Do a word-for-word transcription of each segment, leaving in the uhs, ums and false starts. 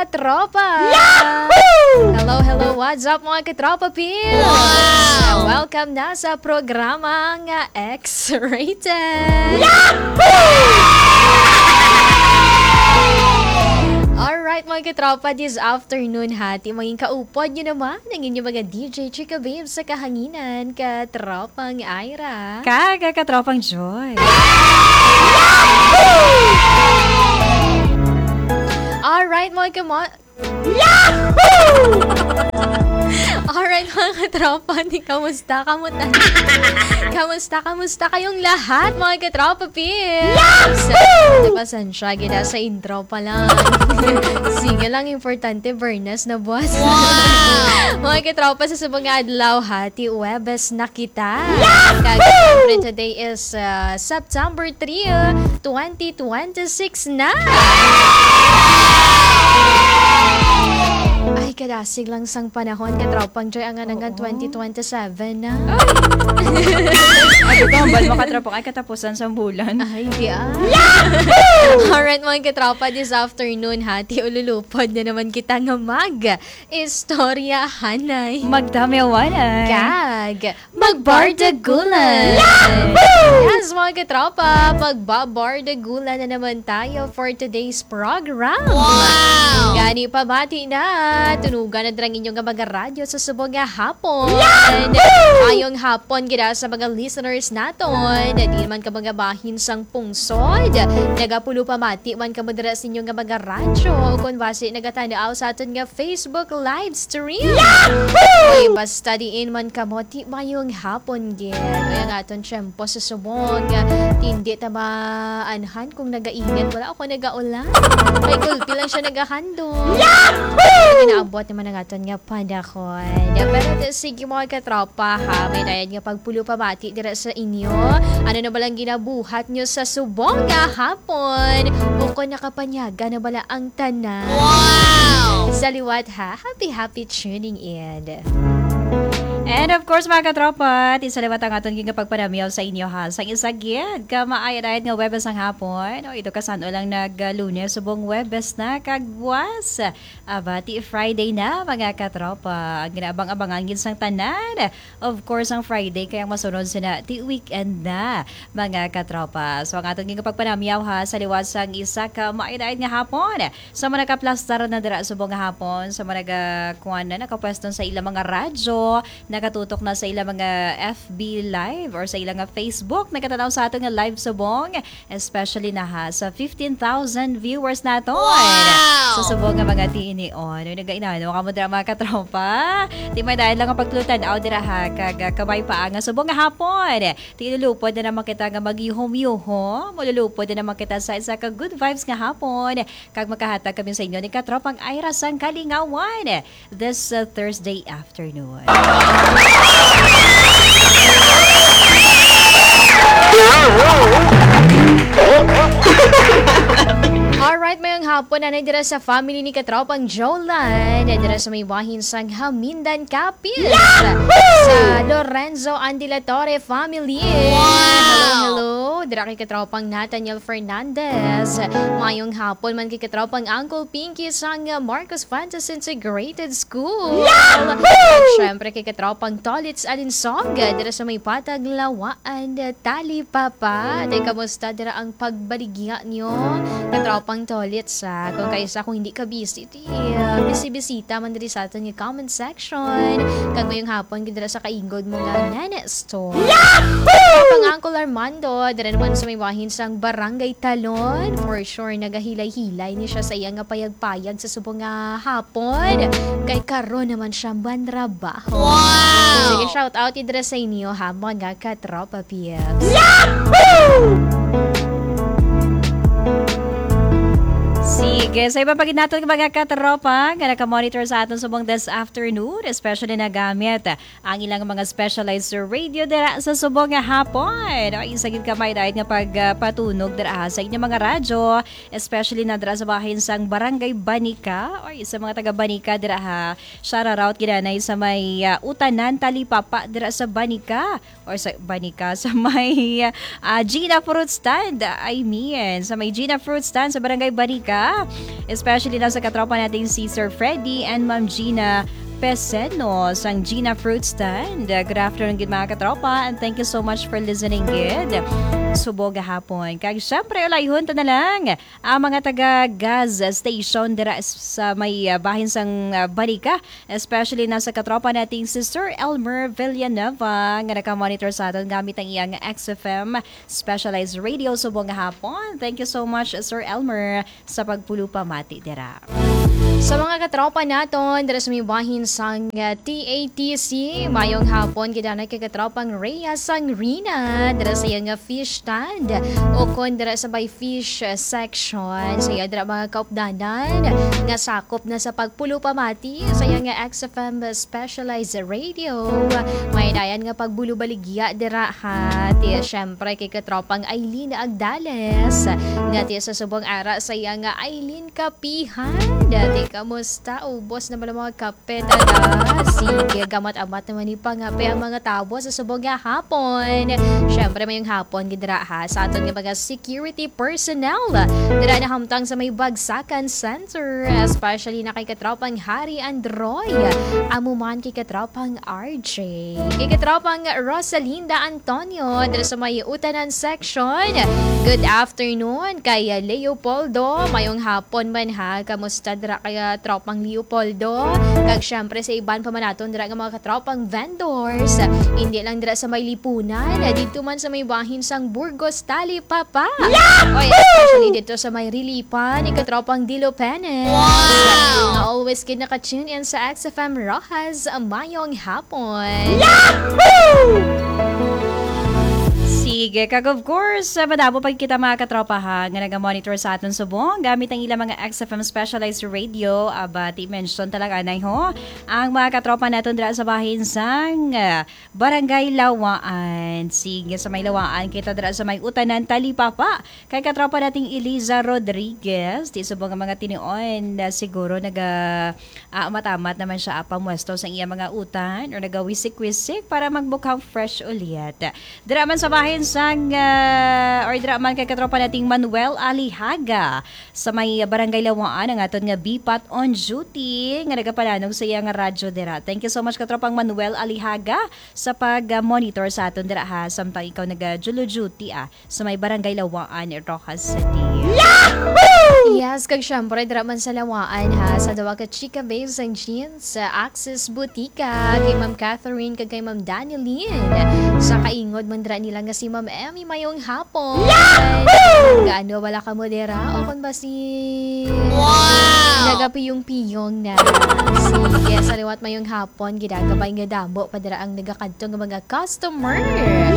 Tropa! Yahoo! Hello, hello, what's up, mga katropa peeps? Wow! Welcome na sa programang X-Rated! Yahoo! Alright, mga katropa, this afternoon, ha, ti maging kaupod nyo naman ang inyong mga D J Chika Babe sa kahanginan, katropang Ira. Kag katropang Joy. Alright, mga kamo-, Yahoo! Alright, mga katropa, di, kamusta? Kamusta? Kamusta? Kamusta kayong lahat, mga katropa peeps? Yahoo! Pasensya, gina sa intro pa lang. Sige lang, importante, Bernas na buwas. Wow! Mga katropa, sa subong nga adlaw, ha, ti Webes na kita. Yahoo! Kag, syempre, today is, uh, September three, uh, twenty twenty-six na. Ay, kadasig lang sang panahon, katropang Joy, ang anangan Oo. twenty twenty-seven na. Ay, ito, hambal mo, katropang, ay, katapusan sang bulan. Ay, di ah. Alright, mga katropa, this afternoon, ha, ti ululupod na naman kita nga mag-istoryahanay. Magdamiawanay. Kag magbardagulan. Yahoo! Yes, mga katropa, magbabardagulan na naman tayo for today's program. Wow! Gani, pamati na. Tunugan na dira ang inyo nga mga radyo sa subong nga hapon. Yahoo! Maayong hapon gid sa mga listeners naton. Di man ka mga bahin sang pungsod, nagapulo pamati man kamo dira sa inyo nga mga radyo, o kon basi nagatan-aw sa aton nga Facebook live stream. Yahoo! Uy, basta diin man kamo, ti maayong hapon gid. Uy, ang aton tiyempo sa subong, tindi ta maanhan kung nagainit, wala ako nagaulan. May gulpi lang siya nagahandom. Yahoo! Ginaabot naman ang aton nga panahon. Pero ti, sige, mga katropa, ha, may dayad nga pagpulo pamati dira sa inyo. Ano na ba lang ginabuhat nyo sa subong nga hapon? O kon nakapanyaga na bala ang tanan? Wow! Sa liwat, ha, happy, happy tuning in. And of course, mga katropa, ti sa liwat ang aton gingapagpanamiyaw sa inyo, ha, sang isa gid ka maayad-ayad nga Webes ang hapon. O, ito ka san-o lang nag-Lunes, subong Webes na, kag buwas, aba, ti Friday na, mga katropa. Ang ginaabang-abangan gid sang tanan, of course, ang Friday, kay ang masunod sina ti weekend na, mga katropa. So, ang aton gingapagpanamiyaw, ha, sa liwat sang isa ka maayad-ayad nga hapon. Sa mga nakaplastar na dira subong nga hapon, sa mga naga-, kuwan na, nakapwesto sa ilang mga radyo, nakatutok na sa ilang mga F B Live or sa ilang nga Facebook, nagkatanaw sa aton nga live subong, especially na, ha, sa fifteen thousand viewers naton. Wow! Sa subong nga mga tiinion. Uy, nagainano ka mo dira, mga katropa? Ti may dayad lang ang pagtulutan-aw dira, ha, kag, ah, kabay pa nga subong nga hapon. Ti lulupod na naman kita nga maghihom-yuhom. Malulupod na naman kita sa isa ka good vibes nga hapon. Kag makahatag kami sa inyo ni katropang Ira sang kalingawan this, uh, Thursday afternoon. Alright, mayong hapon, anay dira sa family ni katropang Jolan, dira sa may bahin sang Hamindan, Capiz. Yahoo! Sa Lorenzo Andilatore family. Wow! Hello, hello. Dira kay katropang Nathaniel Fernandez. Mayong hapon man kay katropang Uncle Pinky sang Marcos Fuentes Integrated School. Yahoo! At syempre kay katropang Tolits Alinsog, dira sa may Patag, Lawaan, Talipapa. Tay, kamusta dira ang pagbaligya nyo? Katropang Tolits, ah. Kung kaisa, kung hindi ka busy, ti, ah, bisibisita man diri sa aton nga comment section. Kag mayong hapon gid dira sa kaingod mo nga Nene Store. Yahoo! Pang Uncle Armando, dira naman sa may bahin sang Barangay Talon. For sure, nagahilay-hilay ni siya sa iya nga payag-payag sa subong nga hapon. Kay karon naman siya manrabaho. Wow! Sige, shout out dira sa inyo, ha, mga katropa peeps. Yahoo! Sige, sa iba pa gid naton, mga katropa nga naka-monitor sa aton subong this afternoon, especially nagamit ang ilang mga specialized radio dira sa subong nga hapon. O, isa gid ka may dayad nga pagpatunog dira, ha, sa inyong mga radyo, especially na dira sa bahin sang Barangay Banica, o sa mga taga Banica dira, ha. Shout out gid anay sa may, ah, Utanan, Talipapa dira sa Banica. Or sa Banica, sa may, ah, Gina Fruit Stand, I mean, sa may Gina Fruit Stand sa Barangay Banica. Especially na sa katropa nating si Sir Freddy and Ma'am Gina Peseno sang Gina Fruit Stand. Uh, good afternoon, good mga katropa, and thank you so much for listening, good. Subong gahapon. Kag syempre, ulayhon ta na lang ang mga taga gas station dira s-, sa may, uh, bahin sang, uh, Banica, especially na sa katropa nating si Sir Elmer Villanueva nga nakamonitor sa aton gamit ang iyang X F M specialized radio subong gahapon. Thank you so much, Sir Elmer, sa pagpulo pamati dira. Sa mga katropa naton dira sa may bahin sang, uh, T A T C, mayong hapon gid anay kay katropang Rhea Sangrina dira sa iyang, uh, fish stand o kon dira sa may fish, uh, section. Sa iya dira mga kaupdanan nga sakop na sa pagpulo pamati sa iyang, uh, X F M specialized radio. May dayan nga pagbulo baligya dira ha. Ti, syempre kay katropang Aileen Agdales nga ti sa subong ara sa iya nga Aileen Kapihan. Dati, kamusta? Ubos na ba ang mga kape, taga? Sige, gamat-amat naman ni pangape ang mga tabo sa subong nga hapon. Syempre, mayong hapon gid dira ha sa aton nga mga security personnel dira nahamtang sa may Bagsakan Center, especially na kay katropang Harry Androy, amo man kay katropang R J, kay katropang Rosalinda Antonio dira sa may Utanan Section. Good afternoon kay Leopoldo. Mayong hapon man ha. Kamusta dira kay, ah, tropang Leopoldo? Kag syempre sa iban pa man naton dira nga mga katropang vendors. Hindi lang dira sa may Lipunan, dito man sa may bahin sang Burgos, Talipapa. Oy, especially dito sa may Rilipan, ni katropang Dilo Penes. Wow! Nga always gid naka-tune in sa X F M Roxas. Mayong hapon. Sige, kag of course, ah, madamo pa kita mga katropa ha, nga naga-monitor sa aton subong gamit ang ilang mga X F M specialized radio. Aba, ti mention talaga, anay ho. Ang mga katropa naton dira sa bahin sang, ah, Barangay Lawaan. Sige, sa may Lawaan, kita dira sa may Utanan, Talipapa. Kay katropa nating Eliza Rodriguez, ti subong nga mga tinuon, ah, siguro naga, ah, amat-amat naman siya, ah, pamwesto sa iya mga utan or nagawisik-wisik para magmukhang fresh ulit. Dira man sa bahin sang, ah, or dira man kay katropa nating Manuel Alihaga sa may Barangay Lawaan ang aton nga bipat on duty nga nagapananog sa iya nga radyo dira. Thank you so much, katropang Manuel Alihaga, sa pag, ah, monitor sa aton dira ha, samtang ikaw naga-duty, ah, sa may Barangay Lawaan, Roxas City. Yes, kag syempre, dira man sa Lawaan ha, sa duwa ka chika babes ang jeans, sa Axis Botica, kay Ma'am Catherine, kag kay Ma'am Danilyn. Sa kaingod man dira nila nga si Ma'am Emmy, mayong hapon. Gaano, wala ka mo dira? O kung ba si Wow! Nagapiyong-piyong na. Sige, sa liwat mayong hapon, gidagabay nga damo pa dira ang nagakadto nga mga customer.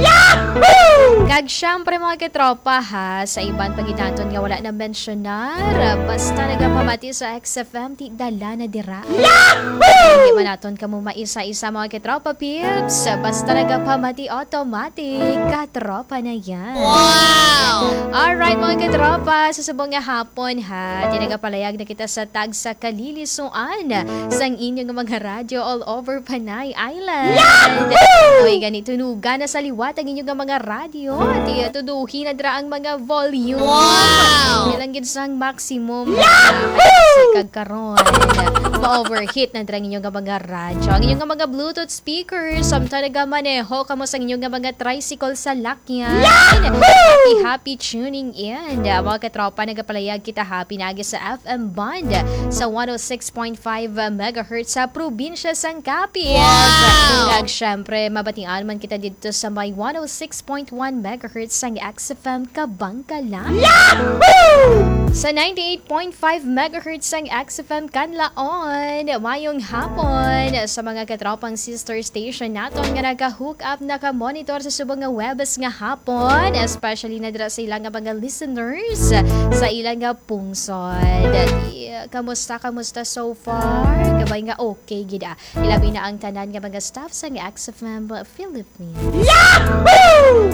Yahoo! Kag syempre, mga katropa, ha, sa iban pa gid naton nga wala na mensyonar, basta nagapamati sa X F M, ti dala na dira. Yahoo! Hindi man naton kamo maisa-isa, mga katropa, peeps. Basta nagapamati, automatic, katropa na yan. Wow! Alright, mga katropa, sa subong nga hapon, ha, ti nagapalayag na kita sa tagsa kalilisuan sang inyo nga mga radyo all over Panay Island. Yahoo! Oy, gani, tunugan na sa liwat ang inyo nga mga radyo. Ti, tuduhi na dira ang mga volume. Wow! Ilang gid sang maximum. Yahoo! Kag karon, ma-overheat na dira ang inyo nga mga radyo. Ang inyo nga mga Bluetooth speakers, samtang nagamaneho kamo sa inyo nga mga tricycle sa lakyan. Yahoo! Happy, happy tuning in. Mga katropa, nagapalayag kita happy na agi sa F M band sa one oh six point five megahertz sa probinsya sang Capiz. Wow! Kag syempre, mabatian man kita dito sa may one oh six point one megahertz sang X F M Kabangkalan. Yahoo! Sa ninety-eight point five megahertz sang X F M Kanlaon. Mayong hapon sa mga katropang sister station naton nga naka-hook up, naka-monitor sa subong nga Huwebes nga hapon, especially na dira sa ilang nga mga listeners sa ilang nga pungsod. Di, kamusta, kamusta so far? Kabay nga okay gid, ah. Ilabi na ang tanan nga mga staff sang X F M Philippines. Yahoo!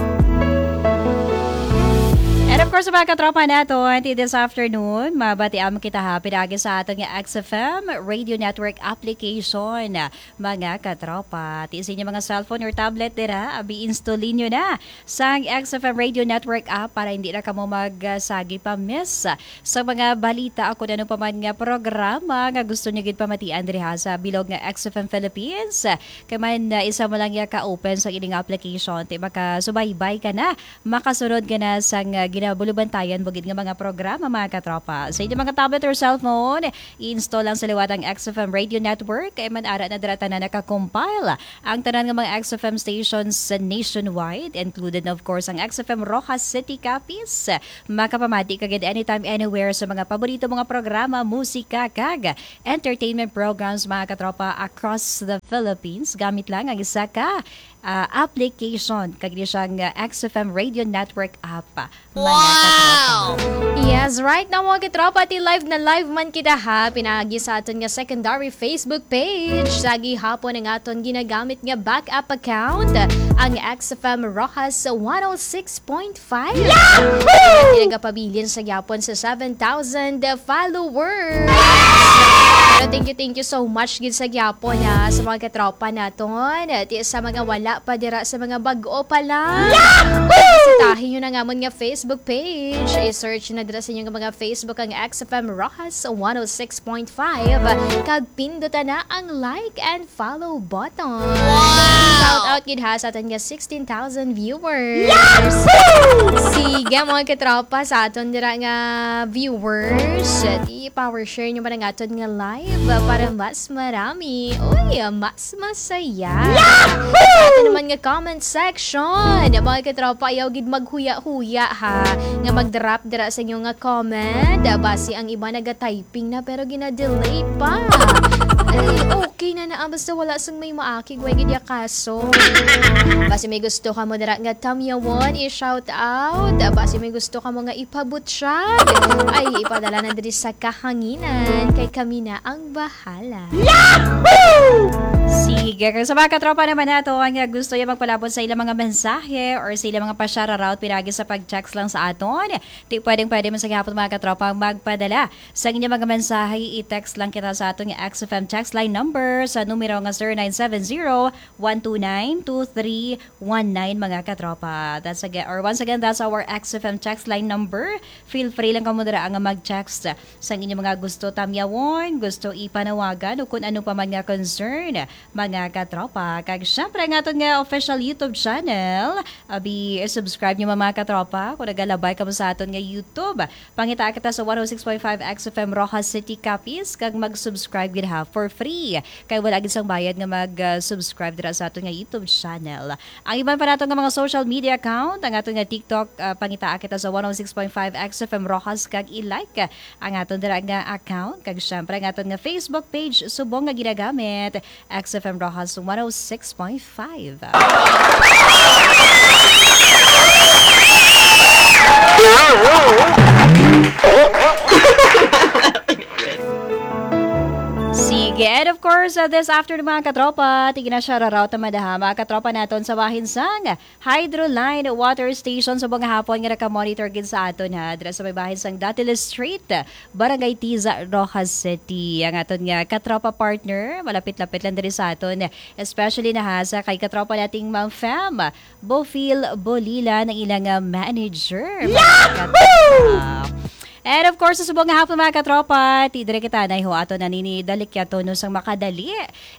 And of Of course, mga katropa naton, ti this afternoon, mabatian mo kita ha, pinaagi sa aton nga X F M Radio Network application, mga katropa. Ti sa inyo mga cellphone or tablet dira, abi install ninyo na sang X F M Radio Network app para hindi na kamo magsagi pa miss sa mga balita o kung ano pa man nga programa nga gusto nyo gid pamatian diri ha sa bilog nga X F M Philippines. Kay man, uh, isa mo lang ya ka-open sa ining application, ti makasubaybay ka na, makasunod ka na sang, uh, ginabulubantayan mo gid nga mga programa, mga katropa. Sa inyong mga tablet or cellphone, i-install lang sa liwat ang X F M Radio Network. Kay man ara na dira tanan naka-compile ang tanan nga mga X F M stations sa nationwide, included na, of course, ang X F M Roxas City, Capiz. Makapamati ka gid anytime, anywhere sa mga paborito mga programa, musika, kag entertainment programs, mga katropa, across the Philippines. Gamit lang ang isa ka, ah, application, kag di siyang, ah, X F M Radio Network app, mga katropa. Yes, right now, mga katropa, ti live na live man kita ha, pinaagi sa aton nga secondary Facebook page. Sa gihapon ang aton ginagamit nga backup account, ang X F M Roxas one oh six point five. Yahoo! Nagapabilin sa gyapon sa seven thousand followers. Pero thank you, thank you so much gid sa gyapon, ha, sa mga katropa naton. Ti sa mga wala pa dira, sa mga bag-o pa lang. Yahoo! Bisitahin nyo na nga amon nga Facebook page. I-search na dira sa inyong mga Facebook ang X F M Roxas one oh six point five. Kag pindutan na ang like and follow button. Wow! Shout out gid ha sa aton nga sixteen thousand viewers. Yahoo! Sige, mga katropa, sa aton dira nga viewers, i-power share nyo man ang aton nga live para mas marami. Uy, mas masaya. Yahoo! Sa aton naman nga comment section, mga katropa, ayaw gid maghuya-huya ha, nga mag-drop dira sa inyo nga comment. Basi ang iba naga-typing na pero gina-delay pa. Ay, okay na na, ah, basta wala sang may maakig, way gid ya kaso. Basi may gusto ka mo dira nga tamyawon, i-shout out. Basi may gusto ka mo nga ipabutyag. Ay, ipadala na diri sa kahanginan, kay kami na ang bahala. Yahoo! Sige, kag sa mga katropa naman nato, ang gusto niya magpalabot sa ilang mga mensahe or sa ilang mga pa-shoutout, pinaagi sa pag-text lang sa aton. Ti pwedeng pwede man sa gihapon, mga katropa, ang magpadala sa inyong mga mensahe, i-text lang kita sa aton nga X F M text line number sa numero nga zero nine seven zero, one two nine, two three one nine, mga katropa. That's again, or once again, that's our X F M text line number. Feel free lang kamo dira nga mag-text sa inyong mga gusto tamyawon, gusto ipanawagan, o kung ano pa man nga concern, mga katropa. Kag syempre, ang aton nga official YouTube channel, abi, subscribe nyo, mga katropa, kung nagalabay kamo sa aton nga YouTube. Pangitaa kita sa one oh six point five X F M Roxas City, Capiz, kag mag-subscribe gid ha, for free. Kay wala gid sang bayad nga mag, ah, subscribe dira sa aton nga YouTube channel. Ang iban pa nato nga mga social media account, ang aton nga TikTok, ah, pangitaa kita sa one oh six point five X F M Roxas, kag i-like ang aton dira nga account, kag syempre ang aton nga Facebook page subong nga ginagamit, X F M Roxas one oh six point five. Sige, and of course, uh, this afternoon, mga katropa, tigna siya raraw tamadaha, mga katropa naton sa bahin sang Hydroline Water Station. Subong nga hapon nga naka-monitor gid sa aton, ha, dira sa may bahin sang Datiles Street, Barangay Tiza, Roxas City. Ang aton nga katropa partner, malapit-lapit lang diri sa aton, especially na ha sa kay katropa nating Ma'am Fam Bofil Bolila, ng ilang, ah, manager. Mga Yahoo! Katropa. And of course, sa subong nga hapon, mga katropa, ti dire kita na ho ato na nini dalikyato no sang makadali.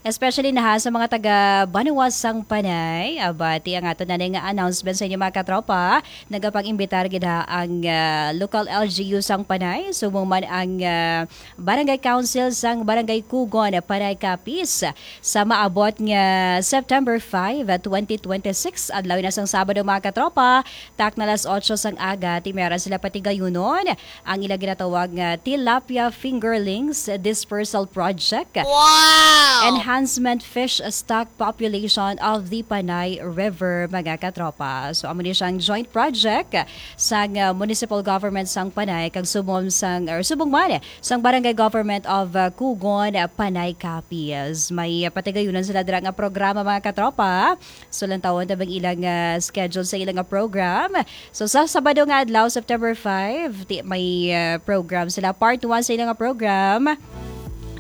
Especially na ha sa mga taga Banwa sang Panay. Aba, ti ang ato na nga announcement sa inyo, mga katropa. Nagapang-imbitar gid ha ang, ah, local L G U sang Panay. Subong man ang, ah, Barangay Council sang Barangay Kugon, Panay, Capiz. Sa maabot nga September five, twenty twenty-six, adlaw na sang Sabado, mga katropa, takna alas otso sang aga, ti meron sila patigayunon ang ila ginatawag nga Tilapia Fingerlings Dispersal Project. Wow! Enhancement Fish Stock Population of the Panay River, mga katropa. So, amo ni siyang joint project sang, uh, Municipal Government sang Panay kag subong sang, or subong man sang Barangay Government of, uh, Cugon, uh, Panay Capiz. May, uh, patigayunan sila dira nga programa, mga katropa. So, lantawon ta bang ilang, uh, schedule sa ilang, uh, program. So, sa Sabado nga adlaw, September five, ti-, may, uh, program sila. Part one sa ilang, uh, program.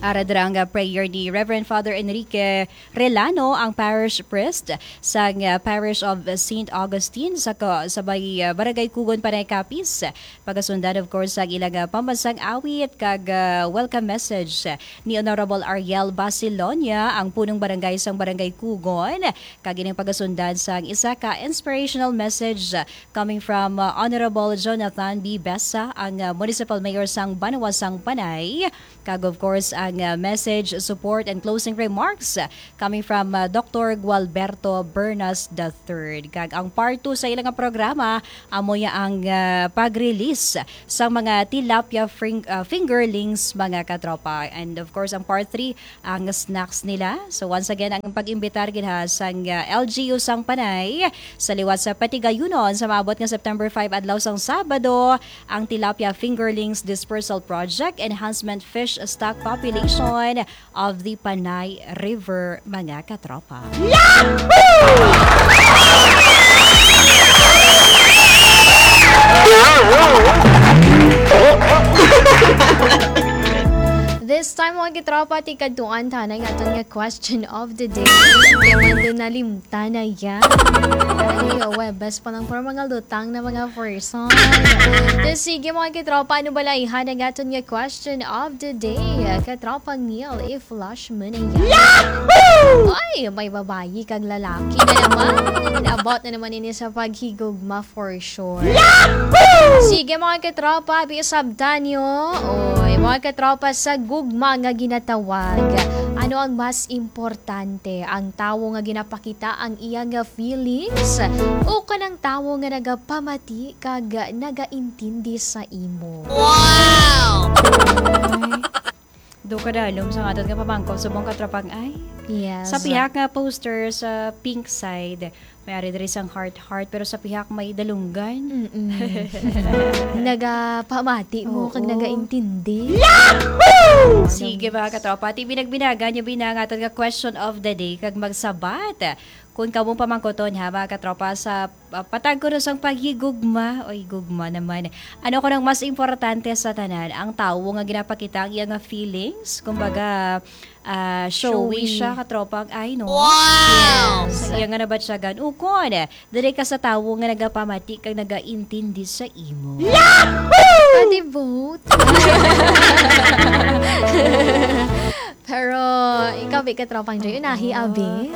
Ara dira ang, uh, prayer ni Reverend Father Enrique Relano, ang parish priest sang, uh, Parish of Saint Augustine sa ka-, sa bay, uh, Barangay Cugon, Panay Capiz. Pagasundan, of course, ang ilang, uh, pambansang awit kag, uh, welcome message ni Honorable Ariel Basilonia, ang punong barangay sang Barangay Cugon, kag ining pagasundan sang isa ka inspirational message, uh, coming from, uh, Honorable Jonathan B. Besa, ang, uh, Municipal Mayor sang Banwa sang Panay. Kag of course, ang, uh, message, support, and closing remarks, uh, coming from, uh, Doctor Gualberto Bernas the third. Kag ang part two sa ilang programa, amo ya ang, uh, pag-release sa mga tilapia fring-, uh, fingerlings, mga katropa. And of course, ang part three, ang snacks nila. So once again, ang pag-imbitar gid ha sang, uh, L G U sang Panay sa liwat sa Patigayunon sa maabot nga September five, adlaw sang Sabado, ang Tilapia Fingerlings Dispersal Project, Enhancement Fish Stock Population of the Panay River, mga katropa. This time, mga katropa, ti kadtuan ta na ang aton nga question of the day. Kaya man din nalimtan na yan. Ay, Webes pa lang, pero mga lutang na mga person. So, sige, mga katropa, ano ba lang ang aton nga question of the day? Katropang Neil, i-flash mo na yan. Ay, may babayi kag lalaki na naman. About na naman ini sa paghigugma for sure. Sige, mga katropa, bisabtan nyo. Oy, mga katropa, sa gugma nga ginatawag, ano ang mas importante? Ang tawo nga ginapakita ang iya nga feelings o kanang tawo nga nagapamati kag nagaintindi sa imo? Wow! Ay, do kadalom sa aton nga pamangkot subong, katropang ay. Yes. Sa pihak nga poster sa pink side, may ari diri sang heart-heart, pero sa pihak may dalunggan. Mm-mm. Nagapamati mo kag Oo. nagaintindi. Sige, mga katropa. Ti binagbinagan nyo bina nga aton nga question of the day kag magsabat. Kung kamo pamangkuton ha, mga katropa, sa, ah, patag ko sang paghigugma, oy, gugma naman. Ano ko nang mas importante sa tanan, ang tawo nga ginapakita ang iya nga feelings, kumbaga, ah, showy Showy. siya, katropang ay, no? Wow! Yes. Sa iya nga nabatyagan. Ukon, diri ka sa tawo nga nagapamati kag nagaintindi sa imo. Pati both. Pero ikaw, bi, katropang Joy, unahi, Oo. abi.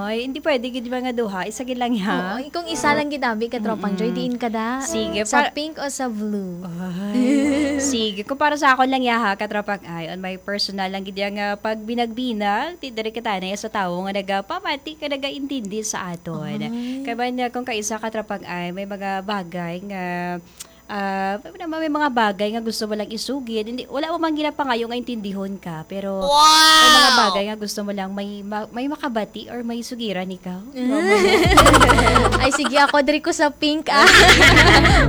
Ay, hindi pwede gid mga duha. Isa gid lang, ha? Oo, kung isa lang gid, abi, katropang Joy, Mm-mm. diin ka da? Sige, Sa pa- pink o sa blue? Ay. Sige, kung para sa akon lang ya, ha, katropang ay, on my personal lang gid yang, ah, pagbinagbinag, ti diri kita na sa tawo nga nagapamati ka, nagaintindi sa aton. Ay. Kaya ba na kung kaisa, katropang ay, may mga bagay nga, ah, may mga, may mga bagay nga gusto mo lang isugid, hindi, wala mo man ginapangayo nga intindihon ka, pero may mga Wow! bagay nga gusto mo lang may ma-, may makabati or may sugiran ikaw. Ay, sige, ako diri ko sa pink, ah.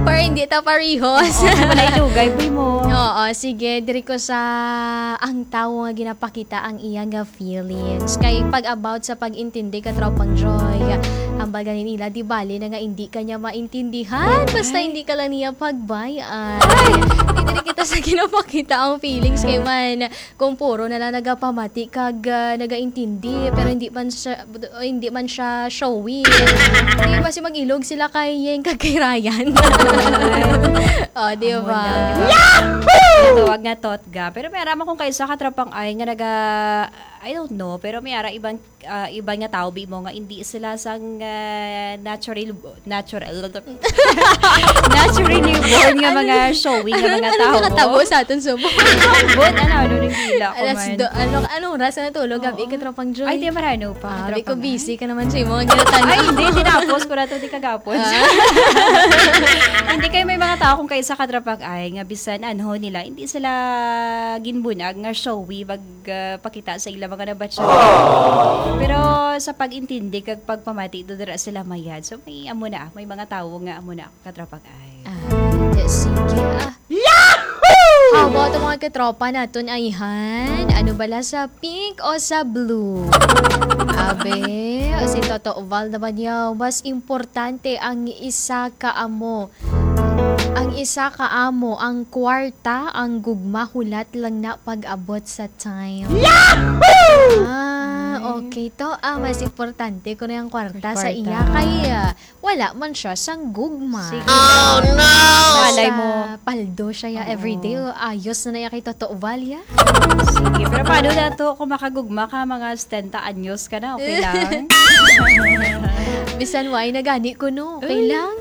Para hindi ta parihos. Oo, wala ilugay, boy mo. Oo, sige, diri ko sa ang tawo nga ginapakita ang iya nga feelings. Kay pag about sa pag-intindi, katropang Joy, ang baga ni nila, di bali na nga hindi ka niya maintindihan. Basta Ay. hindi ka lang niya pagbayan. Ay! Hindi rin kita sa ginapakita ang feelings kay man, kung puro na lang nagapamati kag, ah, nagaintindi, pero hindi man siya, hindi man siya showy. Di ba si mag-ilog sila kay Yeng kag kay Ryan? O, di Amo ba? na. Ginatawag nga totga. Pero may ara man kung kaisa ka tropang ay nga naga, I don't know, pero may ara ibang, ah, iban nga tawo bi mo nga hindi sila sang, ah, natural, natural, naturally born nga mga showy nga mga tawo. Ano nakatabo sa aton subong? Ambot, ano, ano, nagdila ko Alas man. Do, ano, anong oras na natulog? Gabi Oo. Ka, tropang Joy. Ay, di, marano pa, Ah, tropang di ko busy ka naman sa imo. Ang ginatana. Ay, hindi, tinapos ko na to, di kagapon. Ah. Hindi kayo may mga tao kung kaisa ka tropang ay nga bisan anho nila, hindi sila ginbunag nga showy mag, ah, pakita sa ila mga nabatyagan. Pero sa pag-intindi kag pagpamati do dira sila mayad. So may amo na, may mga tawo nga amo na ka tropang ay. Ah, sige. Ah. How about ang mga katropa naton ayhan? Ano bala sa pink o sa blue? Abe, si Toto Val naman yaw, mas importante ang isa ka amo. Ang isa ka amo, ang kwarta, ang gugma, hulat lang na pag-abot sa time. Yahoo! Ah, okay to. Ah, mas importante ko na yung kwarta sa Kwarta. Iya. Kay, ah, wala man siya sang gugma. Sige. Oh, no! Malay Basta mo. Paldo siya ya Oo. Everyday. Ayos na na ya kay Toto Val ya. Sige, pero paano na to kung makagugma ka mga setenta anyos ka na? Okay lang? Bisan why na gani ko, no? Okay Uy. Lang?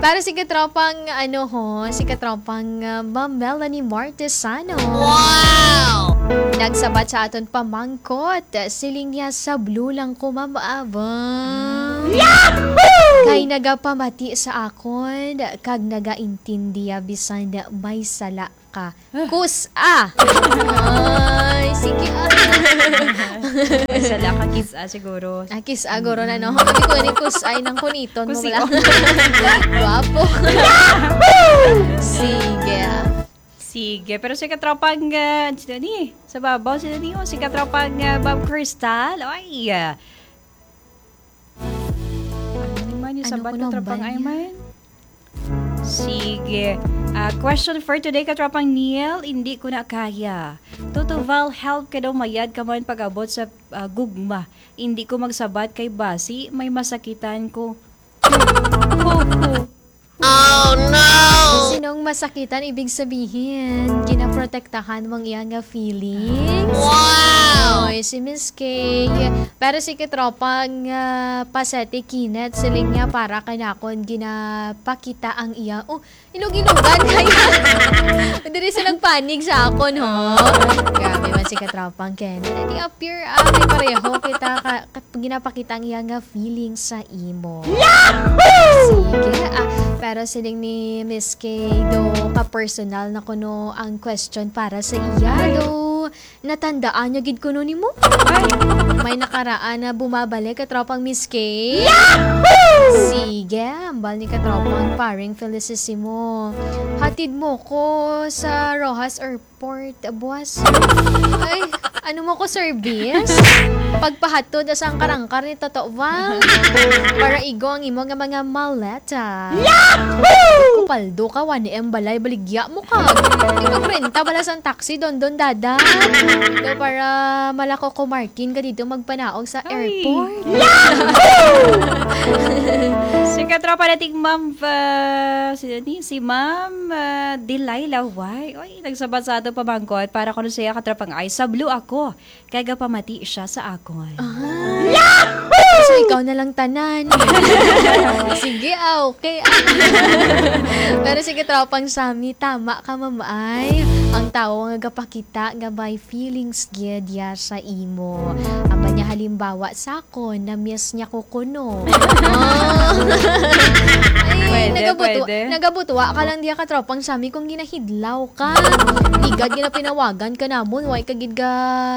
Para si katropang, ano ho, si katropang, ah, Ma'am Melanie Martesano. Wow! Nagsabat sa aton pamangkot. Siling niya, "Sa blue lang ko, Ma'am Ava." Yahoo! Kay nagapamati sa akon, kag nagaintindi ya bisan may sala ka. Kus-a! Ay, sige, ah. May sala ka, kis-a siguro. Ah, kis-a, guro na, no? Hindi ko ni kus-a, ay nang kuniton mo Kusi-, wala. Oh. Guwapo. Sige, ah. Sige, pero si katropang, ah, sino ni? Sa babaw, sino ni? O, si katropang, ah, Bob Crystal. Ay, ah. Ano man yung Ano sabat ko ng lang tropang ba ay niya? Man? Sige. Ah, question for today, katropang Neil, hindi ko na kaya. Toto Val, help ka daw mayad ka man pag-abot sa, ah, gugma. Hindi ko magsabat kay basi, may masakitan ko. Ho, ho. Oh, no! Sinong masakitan, ibig sabihin, ginaprotektahan mong iya nga feelings? Wow! Oy, si Miss K. Pero si katropang, ah, Pasete Kinet, siling niya para kanakon ginapakita ang iya. Oh, inug-inugan kaya. Diri sa nagpanig sa akon, ho. Grabe man si katropang Ken. Di appear, ah, may pareho kita ka, ka, ginapakita ang iya nga feeling sa imo. Yahoo! Sige, ah, pero siling ni Miss K, do ka personal na kuno ang question para sa iya, do natandaan niya gid kuno nimo? Ay, may nakaraan na bumabalik ka tropang Miss K. Yahoo! Sige, ambal ni katropang paring Felicissimo. Hatid mo ko sa Roxas or Port Buas. Ay, ano mo ko service? Pagpahatod sa ang karangkar ni Toto Val. Para igo ang imo nga mga maleta. Yahoo! Kupaldo ka, one M balay, baligya mo ka. Di magrenta bala sang taxi, Dondon Dada. Do para malako ko Martin ka dito magpanaog sa Ay. Airport. Yahoo! Si katropa nating Ma'am, ah, si, ni, si Ma'am, ah, Delilah White. Oy, nagsabat sa ato pamangkot para kuno siya katropang ay sa blue ako. Kay gapamati siya sa akon. Ah. So, ikaw na lang tanan. Sige, ah, okay, ah. Pero sige, tropang Sammy, tama ka, Ma'am, ay. Ang tawo nga gapakita nga may feelings gyud ya sa imo. Ang banya halimbawa sa akon, na-miss niya ko kuno. Ah. Ay, Pwede, nagabutu-, pwede. Nagabutuwa ka lang diya ka tropang Sammy kung ginahidlaw ka. Igad nga napinawagan ka namon, way ka gid ga,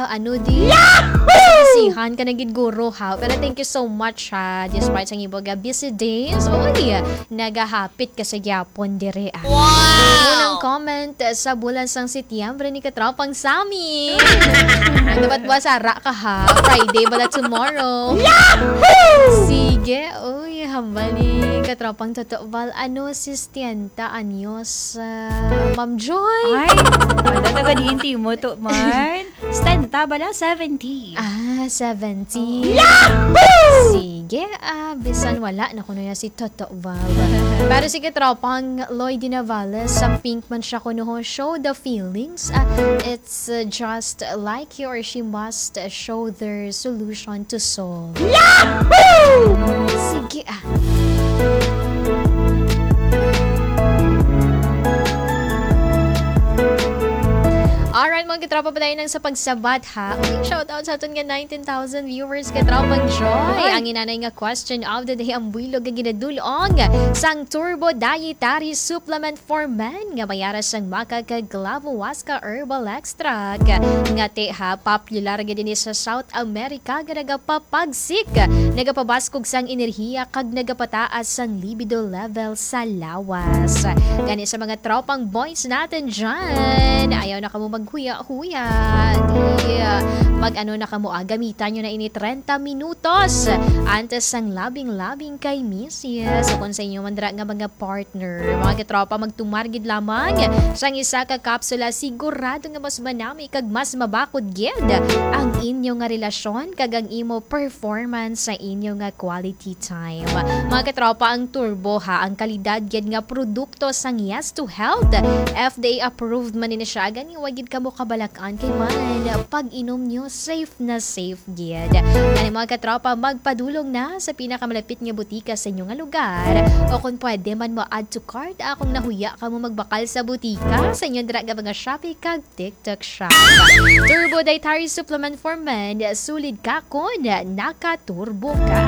ano di? Yahoo! Isihan ka na gid guro, ha? Pero thank you so much, ha? Despite sa imo ga busy days, oy, nagahapit ka sa gyapon dire, ah. Wow! Unang comment, eh, sa bulan sang Setyembre ni katropang Sammy. Ano ba't buwas ara ka, ha? Friday bala tomorrow. Yahoo! Sige, oy. Hambal ni katropang Toto Val, ano, sesenta anyos, ah, Ma'am Joy? Ay, wala, taga diin ti mo to, man. Setenta bala, seventy. Ah, seventy. Oo. Yahoo! Sige, ah, bisan wala na kuno na si Toto Val. Pero sige, tropang Lloyd Navales, sa pink man siya kuno, ho. Show the feelings. Ah, it's, uh, just like he or she must, uh, show their solution to solve. Yahoo! Sige, ah. Alright, mga katropa, padayon lang sa pagsabat, ha. Uy, shout out sa aton nga nineteen thousand viewers, katropang Joy. Ay. Ang inanay nga question of the day, ang buylog nga ginadulong sang Turbo Dietary Supplement for Men nga may ara sang maca kag clavo huasca herbal extract. Nga ti, ha, popular gid ini sa South America nga nagapapagsik, nagapabaskog sang enerhiya kag nagapataas sang libido level sa lawas. Gani sa mga tropang boys natin dyan, ayaw na kamo maghuya-huya. Di, ah, mag-ano na kamo, ah, gamitan nyo na ini treinta minutos antes sang labing-labing kay misis. So, kung sa inyo man dira nga mga partner, mga katropa, magtumar gid lamang sang isa ka kapsula, sigurado nga mas manami kag mas mabakod gid ang inyo nga relasyon kag ang imo performance sa inyo nga quality time. Mga katropa, ang Turbo, ha, ang kalidad gid nga produkto sang Yes to Health. F D A approved man ni siya, gani wa gid kamo kabalak-an kay man pag-inom nyo, safe na safe gid. Gani, mga katropa, magpadulong na sa pinakamalapit nga butika sa inyo nga lugar, o kung pwede man, mo-add to cart, ah, kung nahuya kamo magbakal sa butika sa inyo dira nga mga Shopee kag TikTok Shop. Turbo Dietary Supplement for Men, sulid ka kon naka-turbo ka.